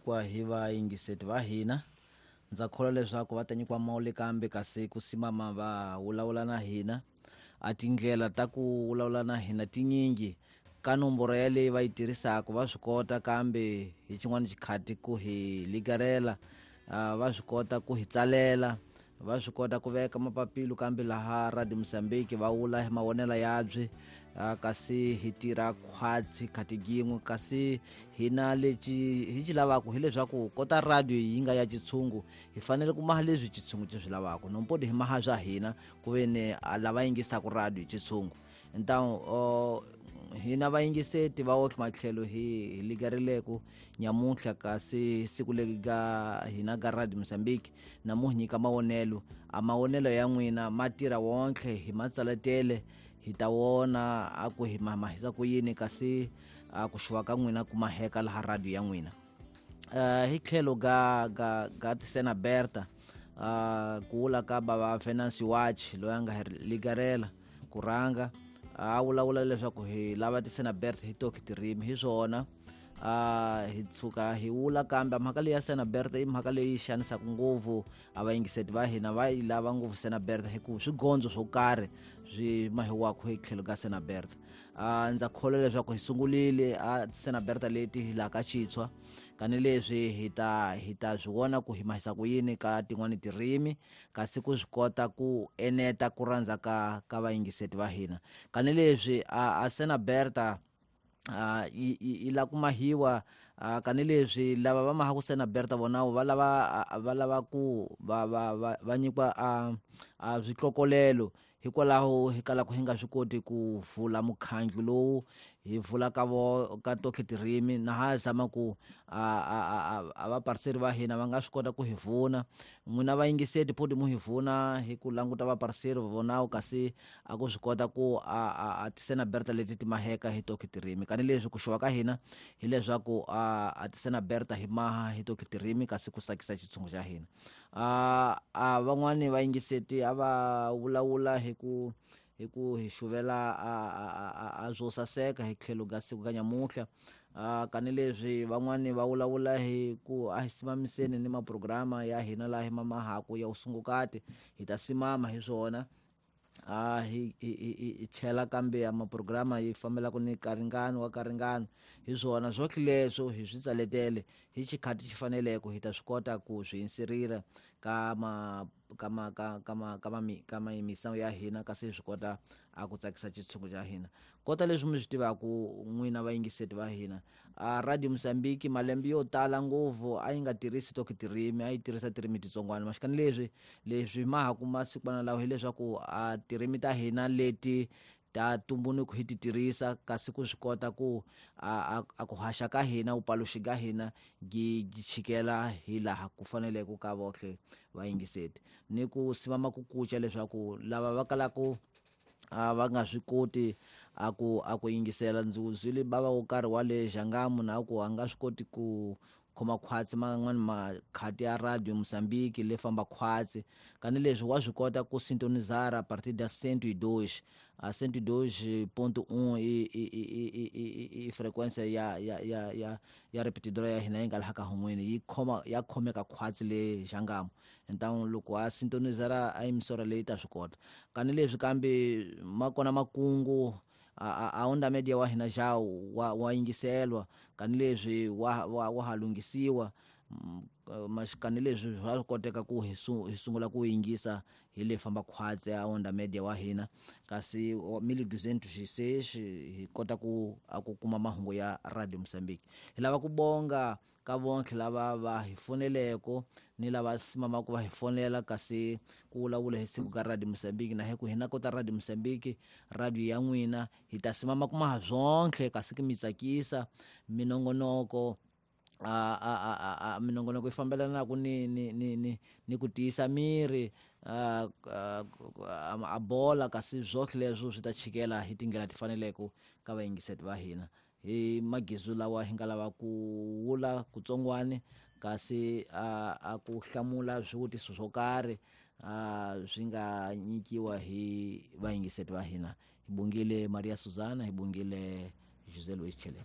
Kwa hi vayingiseti va hina ndza kholwa leswaku va ta nyikiwa mawule kambe kasi ku simama va vulavula na hina a tindlela ta ku vulavula na hina tinyingi ka nomboro yaleyi va yi tirhisaka va swi kota kambe hi xin'wana xikhati ku hi ligarela va swi kota ku hi tsalela va swi kota ku veka mapapilo kambe laha Radio Mozambique va vula hi mavonelo yabye kasi hi tirha khwatsi khati yin'we kasi hina lexi hi xi lavaka hileswaku kota radio yi nga ya xitshungu hi fanele ku maha leswi xitshungu xi swi lavaka nompodi hi maha swa hina ku ve ni lava yingisaka radio xitshungu então hina vayingiseti va otlhe matlhelo hi ligarileko nyamuntlha kasi siku leri ga hina ga Radio Mozambique na mu nyika mavonelo a mavonelo ya n'wina ma tirha wontlhe hi matsaletele hi ta wona a ku hi mahisa ku yini kasi a ku xuva ka n'wina ku maheka laha radio ya n'wina hi tlhelo ga ga ga Tisena Berta ku vula ka bava Venancio Watch loyi a nga hi ligarela ku rhanga a vulavula leswaku hi lava Tisena Berta hi toki tirimi hi swona hi tshuka hi vula kambe mhaka leyi ya Sena Berta i mhaka leyi xanisaka ngopfu a vayingiseti va hina va yi lava ngopfu Sena Berta hikuva swigondzo swo karhi swi mahiwaka hi tlhelo ka Sena Berta ndza kholwa leswaku hi sungurile a Sena Berta leti hi laha ka Xitshwa kanileswi hi ta swi vona ku hi mahisa ku yini ka tin'wani tirimi kasi ku swi kota ku eneta ku rhandza ka vayingiseti va hina kanileswi a Sena Berta yi la ku mahiwa kanileswi lava va mahaku Sena Berta vona va lava ku va nyikiwa a swihlokolelo hikwalaho hi kalaka hi nga swi koti ku vula mukhandlu lowu hi vula ka vo ka toke tirimi na ha zama ku a vapariseri va hina va nga swi kota ku hi vuna n'wina vayingiseti photi mu hi vuna hi ku languta vapariseri vonawo kasi a ku swi kota ku a Tisena Berta leti ti maheka hi toke tirimi kanileswi ku xuva ka hina hileswaku a Tisena Berta hi maha hi toke tirimi kasi ku tsakisa xitshungu xa hina a van'wani vayingiseti a va vulavula hi ku hi xuvela a swo saseka hi tlhelo ka siku ka nyamuntlha kanileswi van'wani va vulavula hi ku a hi simamiseni ni maprograma ya hina laha hi mamahaku ya usungukati hi ta simama hi swona hi chela kambe ya maprograma yi fambelaka ni karingano wa karingano hi swona swotlhe leswo hi swi tsaletele hi xikhati xi faneleke hi ta swi kota ku swi insirira ka ma ka ma ka ka ma ka ma ka mayimisawu ya hina kasi hi swi kota a ku tsakisa xitshungu xa hina kota leswi mi swi tivaka n'wina vayingiseti va hina a Radio Mozambique malembe yo tala ngopfu a yi nga tirhisi toke tirimi a yi tirhisa tirimi titsongwana maxikani leswi ma ha kuma sikwana lawa hileswaku a tirimi ta hina leti ta tumbuluko hi ti tirhisa kasi ku swi kota ku a ku haxa ka hina upaluxi ka hina gi chikela hi laha ku faneleke ka vohle vayingiseti ni ku simama ku kuca leswaku lava va kalaka va nga swi koti a ku yingisela ndzi wuzwile bava wo karhi wa le Xangamu na ku a nga swi koti ku khoma khwatsi man'wani makhati ya Radio Mozambique le famba khwatsi kanileswi wa swi kota ku sintonizara a partir da 102 a 102.1 i frequência ya repetidora ya hina yi nga laha ka hun'wini yi khoma ya khomeka khwatsi le Xangamu então loko a sintonizara a emisora leyi ta swi kota kanileswi kambe ma kona makungu a onda media wa hina xa wa yingiselwa kanileswi wa ha lunghisiwa kanileswi swa koteka ku hi sungula ku yingisa hi le famba khwatsi a onda media wa hina kasi 1206 hi kota ku a ku kuma mahungu ya Radio Mozambique hi lava ku bonga ka vonke lava va hi foneleko ni lava simamaka va hi fonela kasi ku vulavula hi siku ka Radio Mozambique na hi ku hina kota Radio Mozambique radio ya n'wina hi ta simama kuma ha swonke kasi ki mi tsakisa minongonoko a minongonoko yi fambelanaka ni ku tiyisa miri a bola kasi swotlhe leswo swi ta chikela hi tindlela ti faneleke ka vayingiseti va hina hi magizu lawa hi nga lava ku vula kutsongwani kasi a ku hlamula swivutiso swo karhi swi nga nyikiwa hi vayingiseti va hina hi bongile Maria Susana hi bongile José Luis Chelele.